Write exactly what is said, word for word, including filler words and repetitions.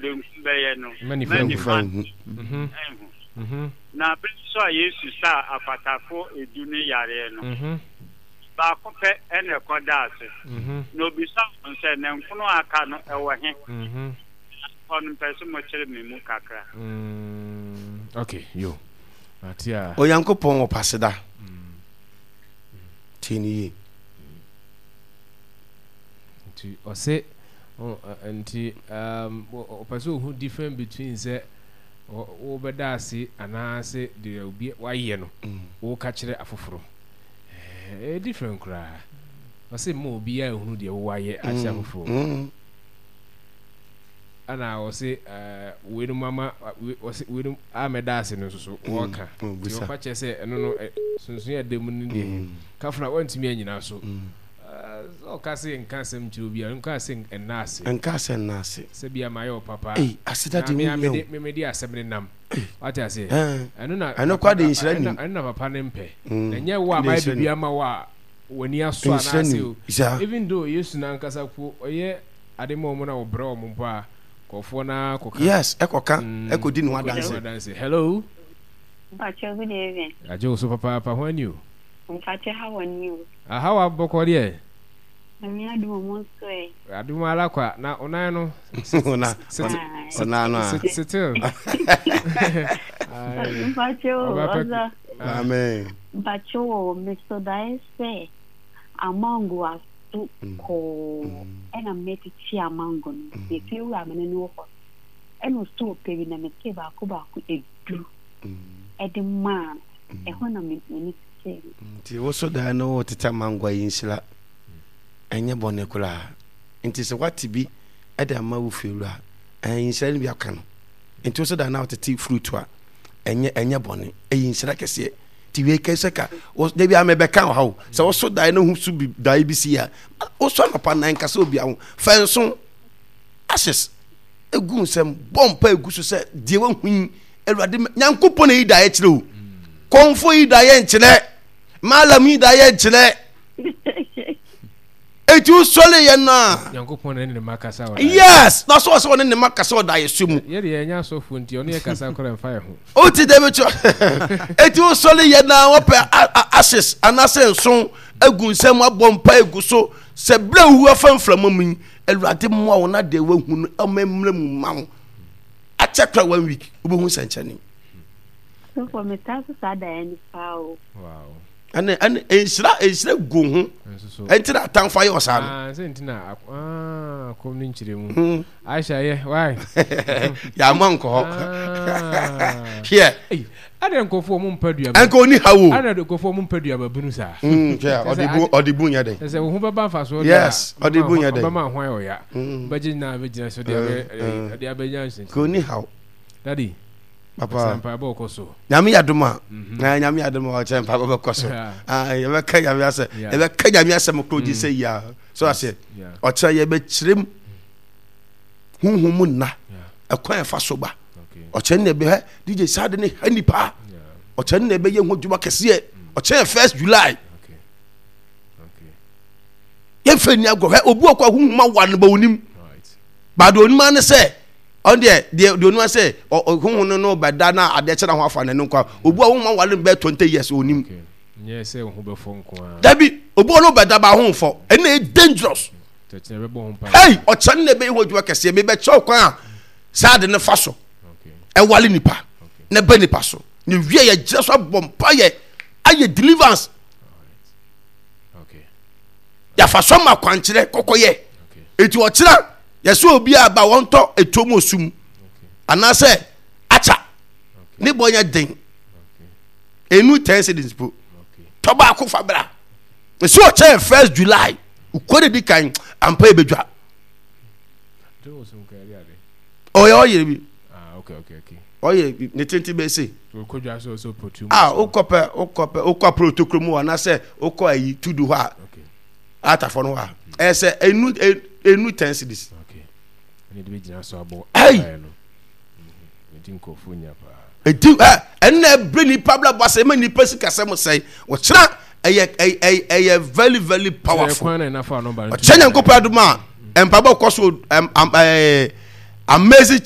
Benkum bɛyɛ no, Mma nifa mma nhu. nifa nhu. Mhm. nhu. Mhm. Na bere nso a Yesu saa akwatafo edu no yareɛ no, Mhm. baako pɛ ɛna ɛkɔdaa ase. Mhm. Na obisaa wɔn sɛ, na nkono a aka no ɛwɔ he? Mhm. Hɔ no mpɛ sɛ mokyerɛ me mu kakra. Mm, okay, yo. Ate a. Onyankopɔn wɔ paseda. Tie ne yie. Nti ɔse ɔ- ɔ- nti um, ɔ- ɔpɛ sɛ ohu difference between sɛ ɔ- wobɛda ase anaasɛ deɛ obi wayɛ no woka kyerɛ afoforɔ. Ɛyɛ different koraa. Ɔse ma obiara ehunu deɛ wowayɛ akyerɛ afoforɔ. Mm. Ɛna ɔse ɛɛ weinom ama we- ɔse weinom a mɛda ase no nso so wɔɔka. Mm, Nti bisa. ɔfa kyerɛ sɛ ɛno no ɛ sunsun yɛ da mu no deɛ Mm. kafra wɔntumi anyina so. Mm. Ɛɛ sɛ ɔka se nka asɛm kyerɛ obiara, nka se ɛnna ase. Nka sɛ nna ase. Sɛ bia mayɛ wo papa. Ei, aseda Na de me ho a hia o. mede me mede asɛm ne nam. Wate aseɛ? Ɛn. Ɛno na Ɛno papa kwa de nhyira ɛno nim. ɛno na papa ne mpɛ. Mm. Na ɛnyɛ wo a Ɛno mayɛ nhyira biribi nim. ama wo a w'ani asɔ Nhyira anaasɛ nim. o. Saa. Even though Yesu n'ankasa po ɔyɛ ade ma ɔmo na ɔbrɛ ɔmo mpo a kɔfoɔ naa kɔka. Yes, ɛkɔka Mm, ɛkɔdi ne ho kɔdi ne ho adanse. adanse. Hello. Mpakyɛ, good evening. Agye wo so papaapa, ho ani o. Mpakyɛ, how are you? Aha wa bɔkɔ deɛ. Nyame adom ɔmo nso ɛ. Adom ara kwa na onan no. Ɔna Ah, ɔna no a. Still. Aye. Mpakyɛ o, Ɔba pɛ. ɔsɔ. Ah. Amen. Mpakyɛ o, mesɔ daeɛ sɛ amango aso kɔɔ ɛna mɛtete amango no. Yɛfie wura me ne no wɔ hɔ. Ɛna ɔsɔ ɔpɛ bi na metee baako baako edu ɛde maa no. Ɛhɔ na me m'ani tetee no. Nti wo so dan no wo tete amango yi nhyira ɛnyɛ bɔne koraa. Nti sɛ wate bi ɛde ama wo fiewura ɛn nhyira no bi aka no. Nti wo so dan na wotete fruit a ɛnyɛ ɛnyɛ bɔne, ɛyɛ nhyira kɛseɛ. Nti wei kɛ sɛ ka wo da bi a mɛbɛka wɔ ha o, sɛ wo so dan no ho so bi dae bi si a, wo so anɔpa nan nkasa obi ho fa nso ashes egu nsɛm bɔ mpa egu so sɛ deɛ wahu yi, Awurade Nyankopɔn na yi daeɛ kyerɛ o. Kɔnfo yi daeɛ nkyerɛ, malam yi daeɛ nkyerɛ. Eti wosɔre yɛ no a. Nyankopɔn na ne ne ma kasa wɔ. Yes, na so ɔsɛ ɔne ne ma kasa wɔ daeɛ so mu. Yɛ deɛ yɛnyɛ asɔfoɔ nti ɔne yɛ kasa koraa mfa yɛ ho. O ti dɛm kyerɛ. Eti wosɔre yɛ no a wɔpɛ ashes anaasɛ nson egu nsɛm abɔ mpa egu so sɛ bere wu afa mframa mu yi, Awurade mmoa wo na deɛ wahu no ɔma mmerɛ mu ma wo. Akyɛ kora one week wobɛhu nsɛnkyerɛnne. Sɔfo, metaa so saa daeɛ no paa o. Wow. Ɛne ɛne nhyira nhyira gu ho. Ɛnti na atamfo ayɛ ɔsaa no. Ah, sɛ nti na ah kɔm ne nkyerɛ mu. Hmm. Aisha yɛ why? Yɛama nkɔ hɔ. Hwɛ. Adɛ nkɔfo ɔmo mpa duaba. Ɛnka oni ha wo. Adɛ nkɔfo ɔmo mpa duaba bunu saa. Hmm, hwɛ ɔde bu ɔde bu nyɛ dɛ. Sɛ wo ho bɛba mfa so. Yes, ɔde bu nyɛ dɛ. Ɔbɛma ho ayɛ ɔya. Bɛgye nyinaa bɛgyina so de abɛ de abɛnya nsɛnkyerɛ. Ka oni ha wo. Daddy. Papa. Mpaebɔ kɔ so. Nyame yɛ adom a. Na Nyame yɛ adom a ɔkyɛ mpaebɔ bɛkɔ so. Ah, yɛbɛka Nyame asɛ. Yɛbɛka Nyame asɛm koro gye sɛ yia. So ase. Ɔkyerɛ yɛbɛkyerɛ mu honhom mu nna. Ɛkwan ɛfa so ba. Ɔkyerɛ ne bɛ D J saa de ne ha nipa. Ɔkyerɛ ne bɛyɛ ho adwuma kɛseɛ. Ɔkyerɛ first July. Yɛmfa ni agorɔ. Hɛ obi wɔ kɔ honhom awa no ba onim. Baade onim ane sɛ ɔno deɛ deɛ deɛ onua sɛ ɔhohun no no bɛda na adeɛ kyɛ na ho afa n'ani nkwa. Obi a wɔn awale no bɛyɛ twenty years onim. Nyɛ sɛ ho bɛfɔ nko ara. Dabi, obi a ɔno bɛda ba ho nfɔ, ɛno na ɛyɛ dangerous. Hey, ɔkyɛ no na ɛbɛyɛ ho adwuma kɛseɛ. Mebɛkyerɛ kwan a saa ade no fa so ɛwale nipa na ɛbɛ nipa so na wie yɛ gyina so abɔ mpa yɛ ayɛ deliverance. Yɛafa so ama akwankyerɛ kɔkɔyɛ. Eti ɔkyerɛ yɛsɛ obi a ba wɔntɔ etuo mu osum anaasɛ akya ne bɔ nyɛ den enu ten cedis po tɔ baako fa bra esi ɔkyɛ first July ukɔ de di kan ampa ebedwa ɔyɛ ɔyɛ bi ɔyɛ ne tenten bɛ se a wokɔ pɛ wokɔ pɛ wokɔ aporo tokuro mu anaasɛ wokɔ ayi tudu hɔ a. Atafo no hɔ a ɛyɛ sɛ enu enu ten cedis. Ɛyi. Edi ɛ ɛnna ɛbere nipa bla bɔ asɛ ɛma nipa sikasɛm sɛn ɔkyerɛ ɛyɛ ɛyɛ ɛyɛ very very powerful. Ɔkyerɛ Nyankopɔn adum a mpaebɔ kɔ so ɛm ɛɛ amazing.